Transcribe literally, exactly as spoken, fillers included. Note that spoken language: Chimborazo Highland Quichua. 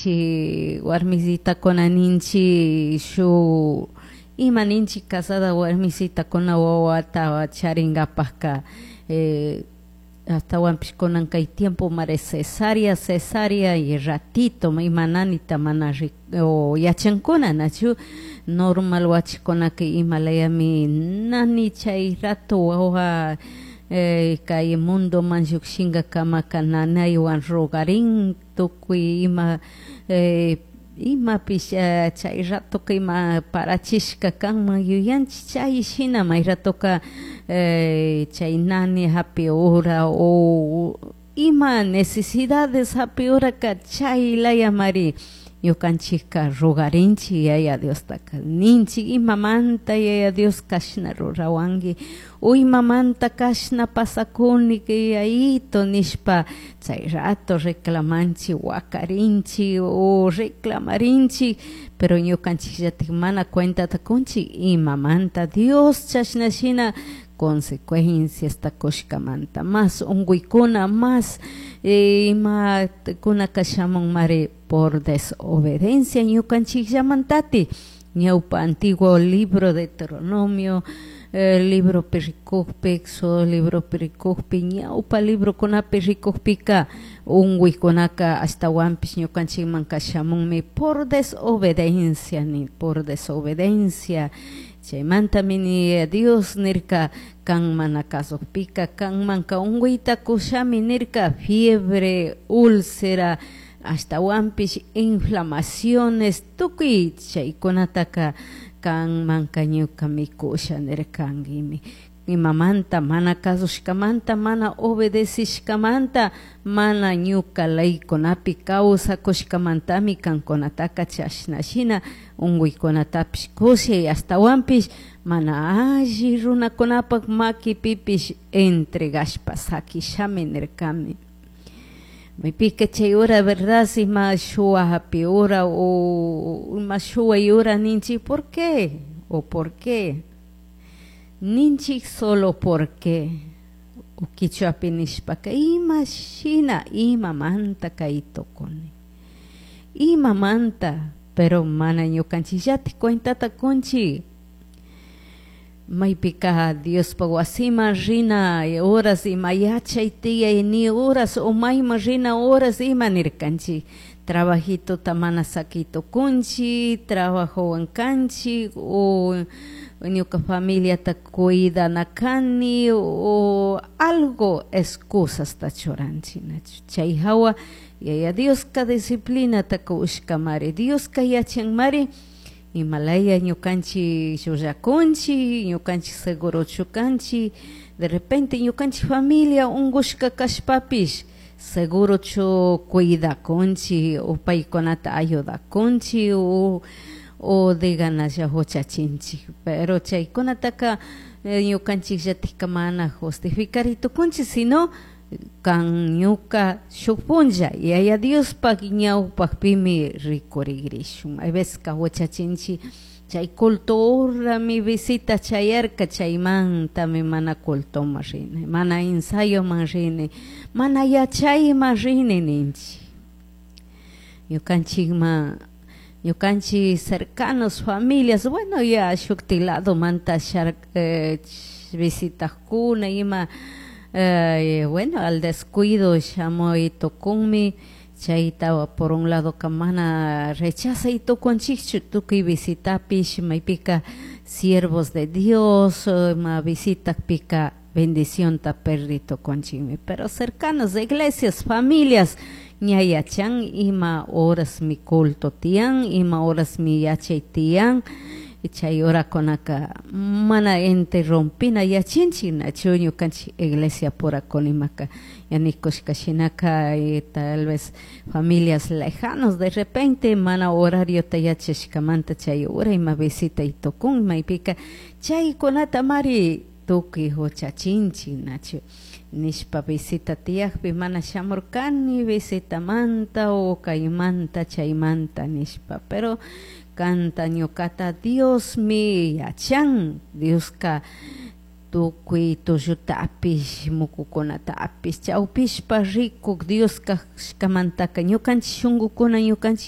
Ninchi warmisitakuna, ninchi shu ima ninchi casada warmisitakuna wawata charinkapakka eh, ashtawanpish kunan kay tiempo mare cesárea, cesárea y ratito ima nanita mana o yachankuna, nachu? Normal wachikunaka imalayami nani chay rato wawa eh, kay mundoman llukshinkakamaka nanaywan rogarin tukuy ima eh, imapish eh, chay ratoka ima parachishka kanman yuyanchik chay shina may ratoka eh, chay nani hapi hora o ima necesidades hapi horaka chay layamari ñukanchikka rogarinchik Yaya Diostaka, ninchik: "Imamanta, Yaya Dios, kashna rurawanki o imamanta kashna pasakuni, Yayito?" nishpa chay rato reclamanchik, wakarinchik o reclamarinchik. Pero ñukanchikllatik mana cuentata kunchik imamanta Dios chashna shina consecuenciasta kushkamanta, más unkuykuna, más eh, imakunaka shamunmari por desobediencia ñukanchikllamantati. Ñawpa antiguo libro Deuteronomio, eh, libropi rikukpi, Éxodo libropi rikukpi, ñawpa librokunapi rikukpika unkuykunaka ashtawanpish ñukanchikmanka shamunmi por desobediencia, ni por desobediencia. Chaymantami ni Dios nirka: "Kan mana kasukpika kanmanka unkuyta kushami", nirka, fiebre, úlcera, ashtawanpish inflamaciones, tukuy chaykunataka kanmanka ñukami kusha nirkankimi. Imamanta? Mana kasushkamanta, mana obedecishkamanta, mana ñuka leykunapi kawsakushkamantami kankunataka chashna shina unkuykunatapish kushay, ashtawanpish mana alli runakunapak makipipish entregashpa sakishami nirkami. Maypika chay hora, verdad, ima shuwa hapi hora o ima shuway hora ninchik: "¿Por qué?" O "¿Por qué?" ninchik, solo "por qué?" O kichwapi nishpaka: "Ima shina, imamanta kay tukuni, imamanta?" Pero mana ñukanchikllatik cuentata kunchik. Maypika Diospak wasiman rina horas, ima yachay tiyay ni horas o mayman rina horas, ima nirkanchik, trabajitota mana saki tukunchik, trabajowan kanchik o ñuka familiata cuidana kani o algo excusasta churanchik. Chay hawa Yaya Dioska disciplinata kushkamari. Dioska yachanmari imalaya ñukanchik llullakunchik, ñukanchik segurochu kanchik. De repente ñukanchik familia unkushka kashpapish, segurochu cuidakunchik o paykunata ayudakunchik o o de ganaslla huchachinchik? Pero chaykunataka ñukanchikllatikka mana justificari tukunchik, sino kan ñuka shuk punlla Yaya Diospak ñawpakpimi rikurigrishun. Hay veces ka huchachinchik chay culto horami visita chayarka, chaymantami mana cultoman rini, mana ensayoman rini, mana yachayman rini ninchik. Ñukanchikman, ñukanchik cercanos, familias, bueno, ya shukti ladomanta shar eh, visitakuna ima, eh, bueno, al descuido shamuy tukunmi. Chayta por un lado ka mana rechazay tukunchikchu tukuy visitapish. Maypika siervos de Dios ma visitakpika bendicionta perdi tukunchikmi. Pero cercanos de iglesias, familias, ña yachan ima horas mi culto tiyan, ima horas mi yachay tiyan. Chay horakunaka mana interrumpina yachinchik, nachu? Ñukanchik iglesia pura kunimaka yanikushka shinaka, tal vez familias lejanos de repente mana horariota yachashkamanta chay hora ima visitay tukun. Maypika chaykunata mari tukuy huchachinchik, nachu? Nishpa visita tiyakpi mana shamurkani visitamanta o kaymanta chaymanta nishpa. Pero kanta ñukata Diosmi yachan. Dioska tukuy tullutapish mukukunatapish chawpishpa rikuk Dios kashkamantaka ñukanchik shunkukuna, ñukanchik